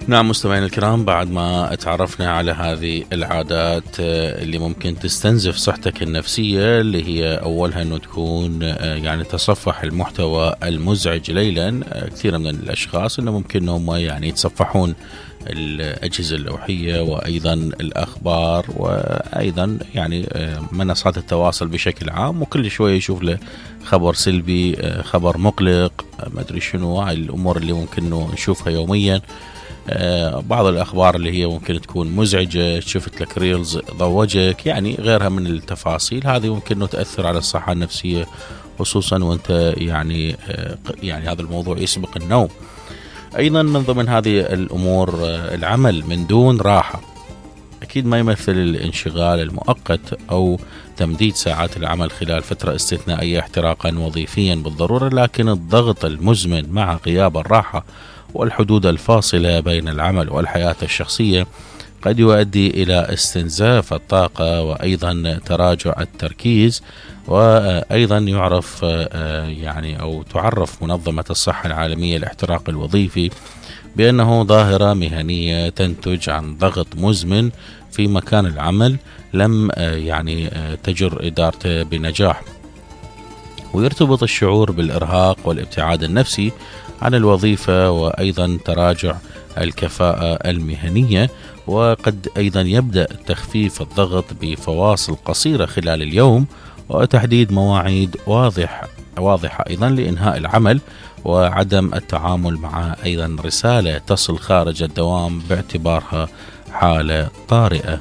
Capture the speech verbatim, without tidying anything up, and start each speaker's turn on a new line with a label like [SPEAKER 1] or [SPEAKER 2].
[SPEAKER 1] نعم مستمعينا الكرام، بعد ما تعرفنا على هذه العادات اللي ممكن تستنزف صحتك النفسية، اللي هي أولها أنه تكون يعني تصفح المحتوى المزعج ليلا. كثير من الأشخاص أنه ممكن أنهم يعني يتصفحون الأجهزة اللوحية وأيضا الأخبار وأيضا يعني منصات التواصل بشكل عام، وكل شوية يشوف له خبر سلبي، خبر مقلق، ما أدري شنو هاي الأمور اللي ممكن نشوفها يوميا. بعض الأخبار اللي هي ممكن تكون مزعجة، شفت لك ريلز ضوجك، يعني غيرها من التفاصيل. هذه ممكن أنه تأثر على الصحة النفسية، خصوصا وانت يعني يعني هذا الموضوع يسبق النوم. أيضا من ضمن هذه الأمور العمل من دون راحة. أكيد ما يمثل الانشغال المؤقت أو تمديد ساعات العمل خلال فترة استثنائية احتراقا وظيفيا بالضرورة، لكن الضغط المزمن مع غياب الراحة والحدود الفاصلة بين العمل والحياة الشخصية قد يؤدي إلى استنزاف الطاقة وأيضا تراجع التركيز. وأيضا يعرف يعني أو تعرف منظمة الصحة العالمية الاحتراق الوظيفي بأنه ظاهرة مهنية تنتج عن ضغط مزمن في مكان العمل لم يعني تجر إدارته بنجاح، ويرتبط الشعور بالإرهاق والابتعاد النفسي عن الوظيفة وأيضا تراجع الكفاءة المهنية. وقد أيضا يبدأ تخفيف الضغط بفواصل قصيرة خلال اليوم وتحديد مواعيد واضح واضحة أيضا لإنهاء العمل، وعدم التعامل مع أيضا رسالة تصل خارج الدوام باعتبارها حالة طارئة.